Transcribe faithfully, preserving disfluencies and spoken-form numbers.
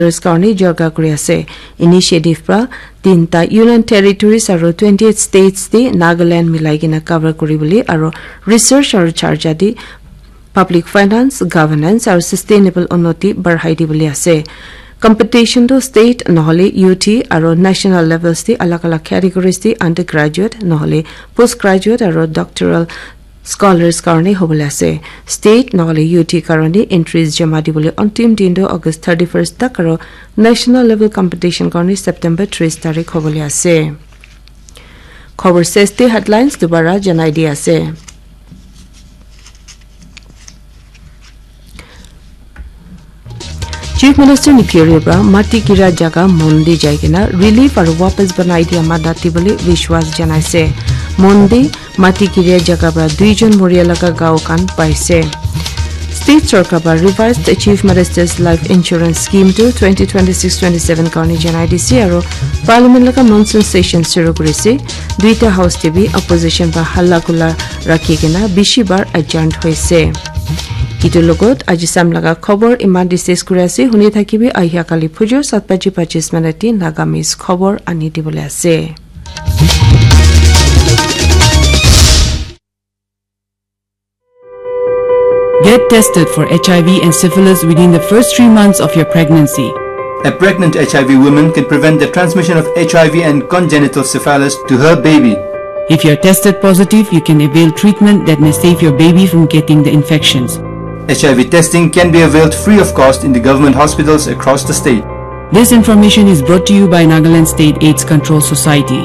Scholars karni jarga kuri ase. Initiative pra tinta Union Territories aro twenty-eight states te Nagaland milai kena cover kuri bole aro research aro charja te public finance, governance aro sustainable unnoti barhai di bole ase. Competition to state nohole U T aro national levels te alag alag categories te undergraduate nohole postgraduate aro doctoral scholars karni hobole ase. State nohole U T karni entries jama di bole antim din to August thirty-first tak aro national level competition karni September tris tarik hobole ase. Khobor seste headlines dubara janai di ase. Chief Minister Neiphiu Rio pra mati gira jaga mon de jai kena relief aro wapas banai dia madad dibole vishwas janaise. Mon de mati gira jaga pra duijon moria laga gao khan paise. State sorkar pra revised Chief Minister's Life Insurance Scheme to twenty twenty-six twenty-seven karni janai dise aro Parliament laga monsoon session shuru kurise. Duita house te bi opposition pra halla kula rakhi kena bishi bar adjourned hoise. Itu logot aji sam laga khobor iman discuss kuri ase. Huni thakibi ahia kali phujur sat baji pachis minute te Nagamese khobor ani dibole ase. Get tested for H I V and syphilis within the first three months of your pregnancy. A pregnant H I V woman can prevent the transmission of H I V and congenital syphilis to her baby. If you're tested positive, you can avail treatment that may save your baby from getting the infections. H I V testing can be availed free of cost in the government hospitals across the state. This information is brought to you by Nagaland State AIDS Control Society.